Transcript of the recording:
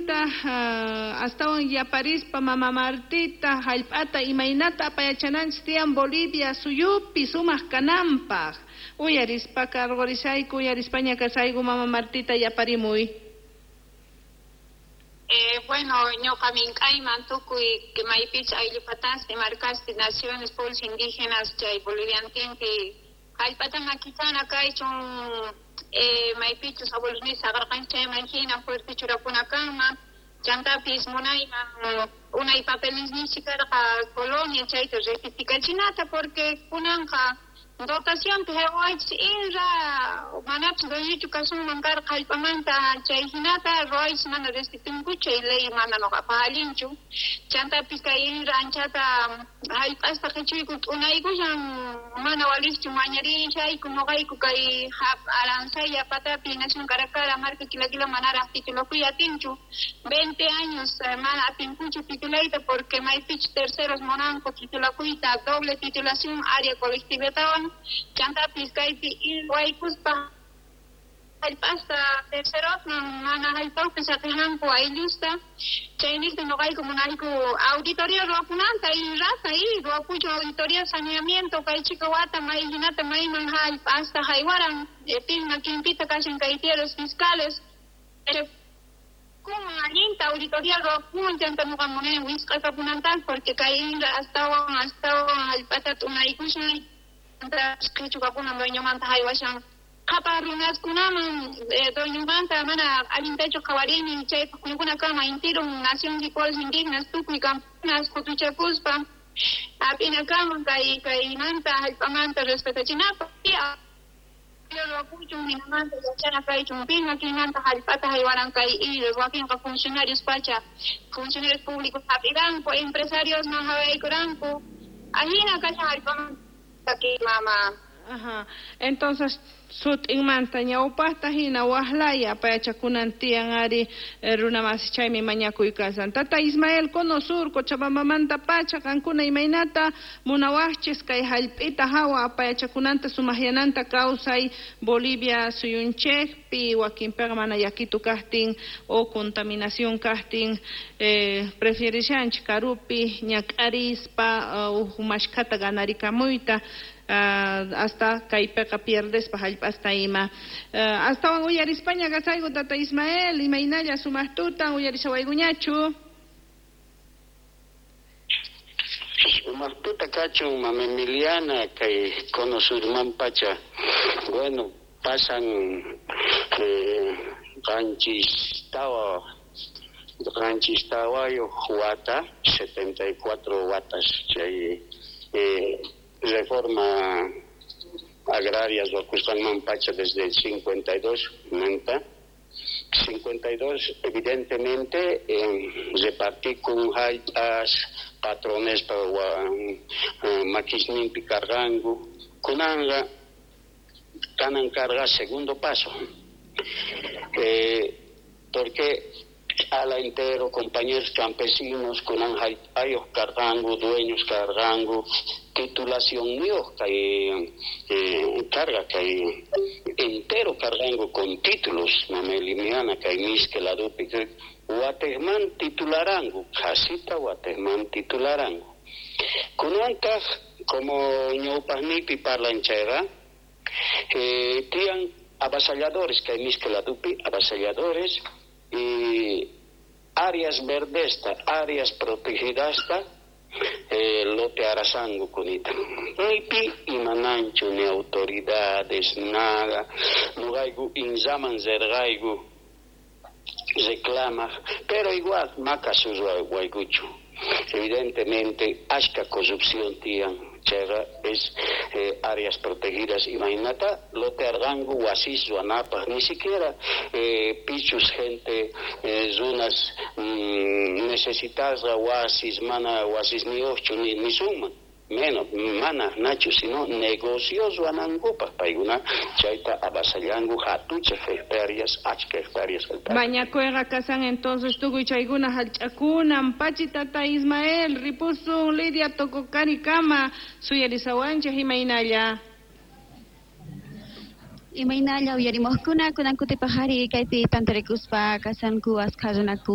Chaymanta astawan yaparispa mama Martita hallp'ata imaynata apayachananchis tiyan Bolivia suyupi sumaq kananpaq. Uyarispa karqurishayku, uyarispaña kasayku mama Martita yaparimuy. Bueno, ñuqa mink'ayman tukuy maypich ayllupataspi, markaspi, naciones, pueblos indígenas chay boliviantinpi hallp'ata makichana kaychun maypichus abuelos saqarqanchik chayman hina fuerte churakuna kanman. Chantapis munayman unay papeles karqa colonia chayta rectificachinata porque kunanqa dotacionpi haywaychis INRA manapis dueñochu kasunman karqa hallp'amanta chay hinata ruwaychis mana respetunkuchu chay ley mana nuqapaq allinchu. Chantapis kay INRA anchata hallp'asta qichuyku t'unaykushan mana waliqchu mañarishayku nuqayku kay Aransaya patapi nación Caracara marka Quilaquila manaraq titulakuy atinchu 20 años mana atinkuchu titulayta porque maypichu terceros munanku titulakuyta doble titulación área colectivatawan chantapis kaypi waykuspa hallp'asta tercerosman mana hallp'api saqinanku ayllusta chayniqta nuqayku munayku auditoría ruwapunanta INRAta y ruwapuchu auditoría saneamiento kay chika wata may hinata mayman hallp'asta haywaran pin makinpita kashan kay tierras fiscales kuma allinta auditoría ruwapun chanta nuqa munani wisq'a kapunanta porque kay INRA astawan astawan hallp'ata t'unaykushan qhichukapunan dueñomanta haywashan qhapaq runaskunaman dueñomanta mana allintachu qhawarini chaypaq kunkuna kama intirun nación y pueblos indígenas tukuy camponas qutuchakuspa hap'inakaman kay kaymanta hallp'amanta respetachinapaq ruwapuchun hinamanta yachana kaychun pin makinmanta hallp'ata haywaran kay wakinqa funcionarios pacha funcionarios públicos hap'iranku empresariosman hawaykuranku ahina kashan hallp'amanta mama. Ajá. Entonces sut'inmanta ñawpaqta hina waqlaya apayachakunan tiyan ari runamasi chaymi mañakuy kasan. Tata Ismael Cono Sur Cochabambamanta pacha qankuna imaynata munawaqchis kay hallp'ita hawa apayachakunanta sumaqyananta kawsay Bolivia suyunchikpi wakinpiqa mana yakitu kaqtin o contaminación kaqtin prefierishanchik karupi ñak'arispa uj mashkhata ganarikamuyta hasta kaypiqa pierdespa hallp'asta ima. Astawan uyarispaña kasayku tata Ismael imaynalla sumaq tutan uyarishawaykuñachu. Sumaq tuta kachun mama Emiliana kay Cono Surman pacha. Bueno, pasan qanchis tawayuq wata, 74 watas chay reforma agraria ruwakusqanman pacha desde el 52 manta 52 evidentemente repartí con hallp'as patrones pa makisninpi karqanku kunanqa kanan karqa segundo paso porque ala entero compañeros campesinos kunan hallp'ayuq karqanku dueños karqanku titulación niyuq kay carga kay entero karqanku con títulos mama Emiliana kay miske ladupi watejman titularanku qhasita watejman titularanku kunantaq como ñawpaqniypi parlan chayqa tiyan avasalladores kay miske ladupi avasalladores y áreas verdesta áreas protegidasta lote arasango kunita nipi imananchu ni autoridades nada nuqayku inzaman zerqayku reclama pero igual maka waykuchu evidentemente ashka corrupción tiyan chayqa es áreas protegidas imaynata lote arqanku wasis ruwanapaq ni siquiera pichus gente runas necesitasqa wasis mana wasisniyuqchu nisunman menos mana nachu sino negocios ruwanankupaq paykuna chayta avasallanku hatuchaq hectáreas achka hectáreas. Mañakuyqa kasan entonces tukuy chaykuna hallch'akunan pachi tata Ismael ripusun Lidia Tococarikama suyarisawanchik imaynalla. Imaynalla uyarimuqkuna kunan kutipaq ari kaypi tantarikuspa kasanku askha runaku.